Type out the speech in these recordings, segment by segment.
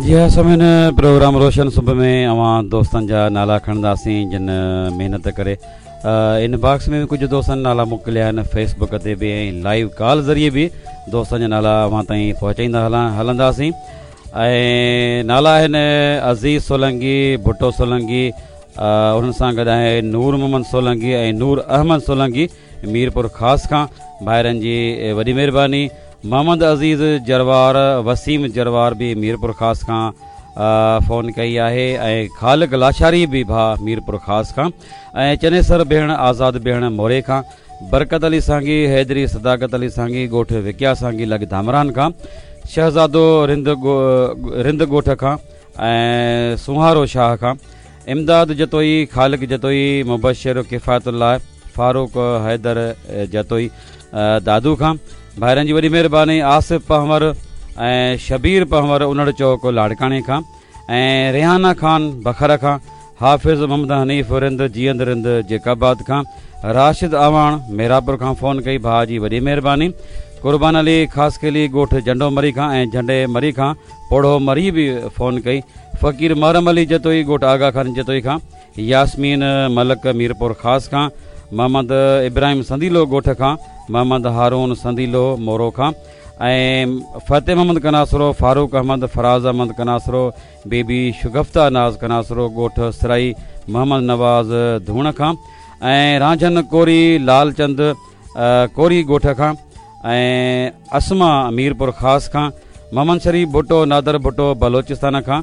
جي ها سامعين پروگرام روشن صبح ۾ اوهان دوستن جا نالا کڻنداسين جن محنت ڪري ان باڪس ۾ به ڪجهه دوستن نالا موڪليا آهن فيس بڪ تي به ۽ لائيو ڪال ذريعي به دوستن جا نالا اوهان تائين پهچائيندا هلان هلنداسين ۽ نالا آهن عزيز سولنگي ڀٽو سولنگي انهن سان گڏ آهي نور محمد سولنگي ۽ نور احمد سولنگي ميرپور خاص کان ڀائرن جي وڏي مهرباني محمد عزيز جروار وسيم جروار به ميرپور خاص کان فون ڪئي آهي ۽ خالق لاشاري به ڀاء ميرپور خاص کان ۽ چنيسر ڀيڻ آزاد ڀيڻ موري کان برڪت علي سانگي حيدري صداقت علي سانگي ڳوٺ وڪيا سانگي لڳ ڌامراهن کان شهزادو رند رند ڳوٺ کان ۽ سونهارو شاهه کان امداد جتوئي، خالق جتوئي، مبشر ڪفايت الله، فاروق حيدر جتوئي دادو کان ڀائرن جي وڏي مهرباني آصف پنهور ۽ شبير پنهور انڙ چوڪ لاڙڪاڻي کان ۽ ريحانه خان بکر کان حافظ محمد حنيف رند جيئند رند جيڪب آباد کان راشد اعواڻ ميراپور کان فون ڪئي ڀاء جي وڏي مهرباني قربان علي خاصخيلي ڳوٺ جهنڊو مري کان ۽ جهنڊي مري کان پوڙهو مري به فون ڪئي. فقير محرم علي جتوئي ڳوٺ آغا خان جتوئي کان، ياسمين ملڪ ميرپور خاص کان، محمد ابراهيم سنديلو ڳوٺ کان، محمد هارون سنديلو مورو کان ۽ فتح محمد ڪناسرو، فاروق احمد، فراز احمد ڪناسرو، بيبي شگفته ناز ڪناسرو ڳوٺ سرائي محمد نواز ڌوڻ کان ۽ رانجهن ڪوري لال چند ڪوري ڳوٺ کان ۽ اسما ميرپور خاص کان، محمد شريف ڀٽو نادر ڀٽو بلوچستان کان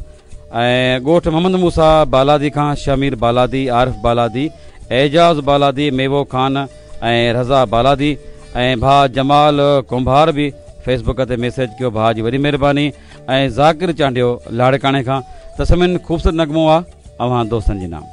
۽ ڳوٺ محمد موسيٰ بالادي کان شهمير بالادي، عارف بالادي، اعجاز بالادي، ميوو خان ۽ رضا بالادي ۽ ڀاء جمال ڪنڀار به فيس بڪ تي ميسيج ڪيو ڀاء جي وڏي مهرباني ۽ ذاڪر چانڊيو لاڙڪاڻي کان ته سمين خوبصورت نغمو آ اوهان دوستن جي نام.